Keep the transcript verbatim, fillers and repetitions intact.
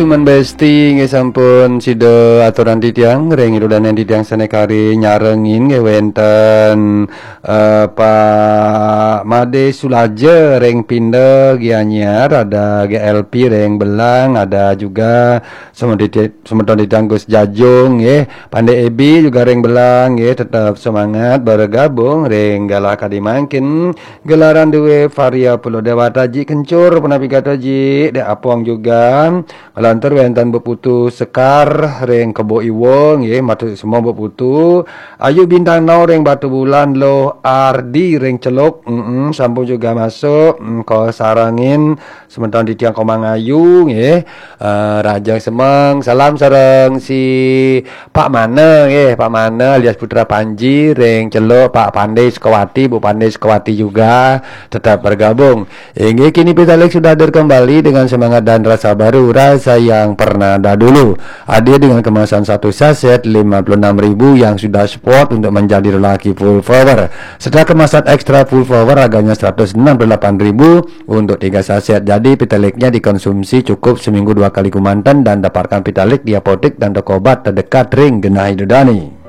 Cuman Besti nggih sampun sida aturang titiang ring ida dané titiang sané kari nyarengin nggih wénten eh, Pak Made Sulaja ring Pinda Gianyar, ada G L P ring Belang, ada juga semeton titiang Gus Jajung nggih, Pandé Ebi juga ring Belang nggih, tetap semangat bergabung ring galah kadi mangkin. Gelaran dué Varia Pulo Dewata ji kencur punapi gata ji, dek Apong juga. Lantur wénten Mbok Putu Sekar ring Kebo Iwa nggih, matur semua Mbok Putu. Ayu Bintang Nau ring Batu Bulan, Loh Ardi ring Celuk. Mm-mm, sampun juga masuk. Mm, ko sarengin semeton titiang Komang Ayu nggih. Eh, Rajang Semeng, salam sareng si Pak Mana nggih, Pak Mana alias Putra Panji ring Celuk, Pak Pandé Sukawati, Bu Pandé Sukawati juga tetap bergabung. Inggih, kini Pitaleg sudah hadir kembali dengan semangat dan rasa baru, rasa yang pernah dahulu. Hadir dengan kemasan satu saset lima puluh enam ribu yang sudah support untuk menjadi lelaki full power. Serta kemasan extra full power harganya seratus enam puluh delapan ribu untuk tiga saset. Jadi, Pitalegnya dikonsumsi cukup seminggu dua kali kemanten dan dapatkan Pitaleg di apotek dan toko obat terdekat ring genah ida dané.